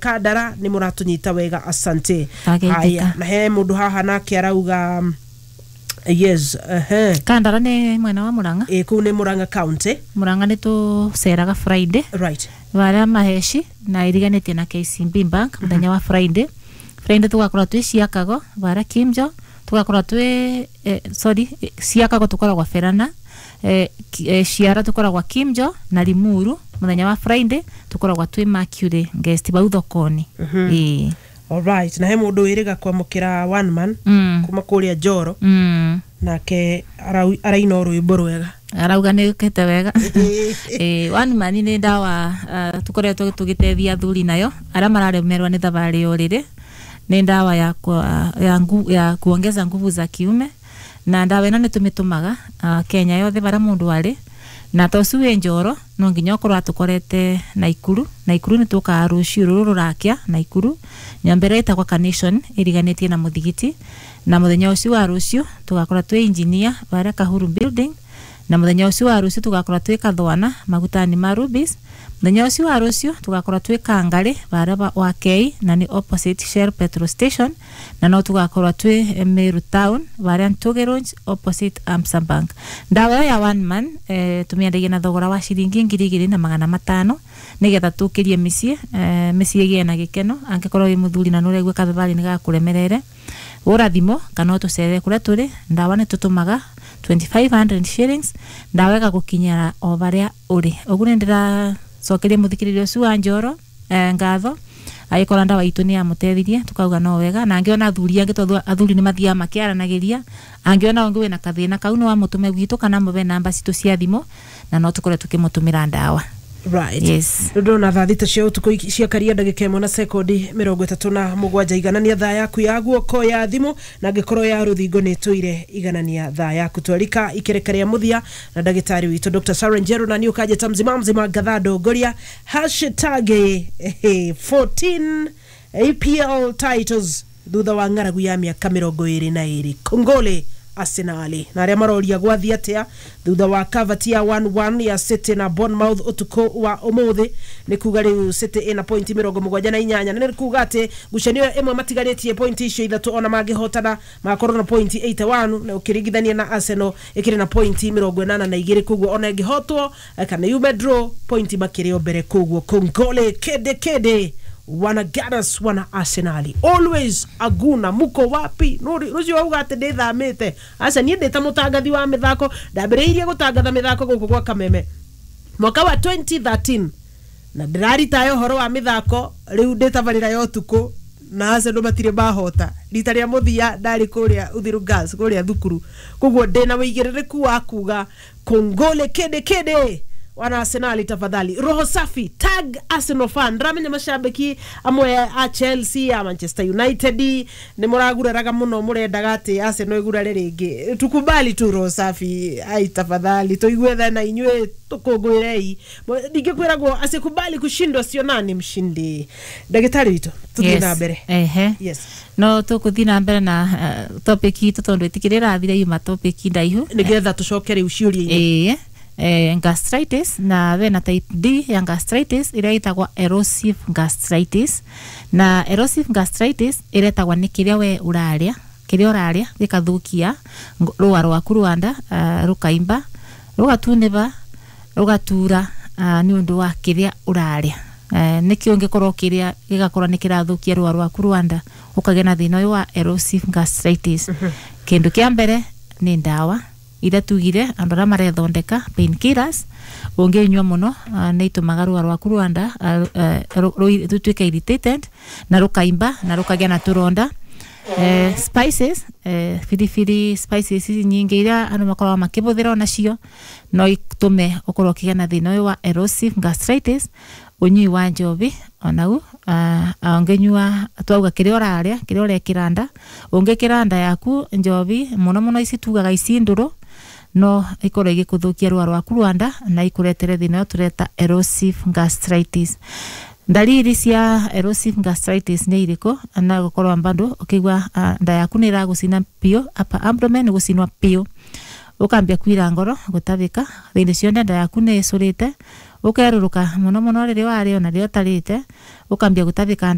Kandara nĩ mũratũnyita wega, asante. Twageithĩka. Haya, na he mũndũ haha nake arauga yes, ehe. Kandara nĩ mwena wa Murang'a. Ĩ, kũu nĩ Murang'a County. Murang'a nĩ tũceraga Friday varia Maheci na iriganĩtie na KCB Bank. Mũthenya wa Friday, Friday tũgakorwo twĩ Ciakago varia Kimjo, tũgakorwo twĩ sorry, Ciakago tũkoragwo Berana, Ciara tũkoragwo Kimjo na Limuru. Mũthenya wa Friday tũkoragwo twĩ Mercury Guest bau thokoni. Ĩĩ. Alright, na he mũndũ wĩrĩga kwamũkĩra one man kuma kũrĩa Njoro. Nake araina o rwĩmbo rwega. Arauga nä kete wega. One man nä ndawa tukoretwo tũgĩteithia athuri nayo arĩa mararemerwo nĩ thabarĩ ya ũrĩrĩ. Nĩ ndawa ya, kwa, ya, ngu, ya kuongeza nguvu za kiume, na ndawa ĩno nĩ tũmĩtũmaga Kenya yothe barĩa mũndũ arĩ, na ta ũcio wĩ Njoro no nginya ũkorwo atũkorete Naikuru. Naikuru nĩ tũkaga rũciũ rũrũ rũrakĩa Naikuru, nyũmba ĩrĩa ĩtagwo Carnation ĩriganĩtie na mũthigiti, na mũthenya ũcio wa rũciũ tũgakorwo twĩ Engineer barĩa Kahuru Building, na mũthenya ũcio wa rũciũ tũgakorwo twĩ Kathwana magutani ma Rubis. Mũthenya ũcio wa rũciũ tũgakorwo twĩ Kangarĩ barĩa wa Kei, na nĩ opposite Shell petrol station, na no tũgakorwo twĩ Meru Town barĩa Ntuge Road opposite Amsa Bank. Ndawa ĩyo ya one man tũmĩendagia na thogora wa ciringi 2500 nĩgetha tũkĩrie mĩciĩ, mĩciĩ ĩgĩe na gĩkeno. Angĩkorwo wĩ mũthuri na nĩũraigua kathabarĩ nĩ gakũremerere, gũra thimũ kana ũtũcerere kũrĩa tũrĩ. Ndawa nĩ tũtũmaga 2500 shillings, ndawa ĩgagũkinyĩra o barĩa ũrĩ. Ũguo nĩ ndĩracokeria mũthikĩrĩria ũcio wa Njoro ngatho. Agĩkorwo ndawa itũ nĩ yamũteithirie, tukauga no wega, na angĩona athuri angĩ, tondũ athuri nĩ mathiaga makĩaranagĩria, angĩona ũngĩ wĩna kathĩna kau, no amũtũme gwitũ kana amũhe namba citũ cia thimũ na no tũkorwo tũkĩmũtũmĩra ndawa. Right. Ndona thaa 6 cia ũtukũ ciakaria ndagĩka 1 na sekondi 37. Iganania thaa yaku ya guoko ya thimũ, na angĩkorwo ya rũthingo nĩ tũire, iganania thaa yaku. Twarika ikereka rĩa mũthia na ndagĩtarĩ witũ Dr. Sarah Njeru, na niĩ ũkanjĩta mzima mzima ngatha ndongoria. Hashtag 14 EPL titles thutha wa ng'aragu ya mĩaka 22. Kongole Arsenal. Na arĩa maroria gwathiĩ atĩa thutha wa kavati ya 1-1 ya City na Bournemouth ũtukũ wa ũmũthĩ, nĩ kuga rĩu City ĩna pointi 78, na nĩ kuga atĩ ngucanio ĩmwe matigarĩtie pointi icio ithatũ, ona mangĩhotana magakorwo na pointi 81, na ũkĩringithania na Arsenal ĩkĩrĩ na pointi 82. Koguo ona ĩngĩhotwo kana yume draw, pointi makĩrĩ o mbere. Koguo kongole kede kede wana Gunners, wana Arsenali, always aguna. Muko wapi? Rũcio wauga atĩ ndĩthamĩte? Aca, niĩ ndĩ ta mũtangathi wa mĩthako, ndambĩrĩirie gũtangatha mĩthako gũkũ gwa Kameme mwaka wa 2013, na ndĩraritaya ũhoro wa mĩthako rĩu ndĩtabarĩra ya ũtukũ, na Arsenal matirĩ mahota. Rita rĩa mũthia ndarĩ kũrĩa Uthiru Girls kũrĩa thukuru. Koguo ndĩna wĩigĩrĩrĩku wa kuga kongole kede kede wana Arsenali. Tafadhali, roho safi, tag Arsenal fan. Ndĩramenya macambĩki amwe a Chelsea, a Manchester United nĩ mũraguraraga mũno, mũrendaga atĩ Arsenal ĩgurare rĩngĩ. Tukubali tu, roho safi. Ai, tafadhali tuigue thena inyuĩ, tũkũngũĩrei. Ningĩ kwĩragwo asikubali kushindwa sio nani mshindi. Ndagĩtarĩ witũ, tũthiĩ na mbere. Ehe. Yes. No tũkũthiĩ na mbere na topic itũ tondũ ĩtikĩrĩ ĩrathire, yuma topic ndaihu. Nĩgetha tũcoke rĩu ciũria-inĩ. Ĩĩ, gastritis, na wena type D ya gastritis ĩrĩa ĩtagwo erosive gastritis. Na erosive gastritis ĩretagwo nĩ kĩrĩa we ũrarĩa, kĩrĩa ũrarĩa gĩkathũkia rũa rwaku rwa nda, rũkaimba, rũgatunĩva, rũgatura, nĩ ũndũ wa kĩrĩa ũrarĩa. Nĩkĩo ũngĩkorwo ũkĩrĩa gĩgakorwo nĩ kĩrathũkia rũa rwaku rwa nda, ũkagĩa na thĩna ũyũ wa erosive gastritis. Kĩndũ kĩa mbere nĩ ndawa iria tugire andũ arĩa marethondeka, painkillers. Ũngĩnyua mũno, nĩ itũmaga rũa rwaku rwa nda rũtuĩke irritated na rũkaimba na rũkagĩa na tũronda. Spices, biribiri, spices ici nyingĩ iria andũ makoragwo makĩhũthĩra, onacio no itũme ũkorwo ũkĩgĩa na thĩna ũyũ wa erosive gastritis. Ũnyui wa njobi onau, ũngĩnyua, twauga kĩrĩa ũrarĩa, kĩrĩa ũrekĩra nda, ũngĩkĩra nda yaku njobi mũno mũno, ici tugaga ici ndũrũ, no ikorwo igĩkũthũkia rũa rwaku rwa nda na ikũretere thĩna ũyũ tũreta erosive gastritis. Ndariri cia erosive gastritis nĩ irĩkũ? Na gũkorwo bado ũkĩigua nda yaku nĩ ĩragũcina biũ, upper abdomen gũcinwa biũ, ũkambia kwira ngoro, gũtabĩka, hĩndĩ ciothe nda yaku nĩ ĩcũrĩte. Ukeruruka muno muno riria waria ona riria utarite, ukambia gutavika.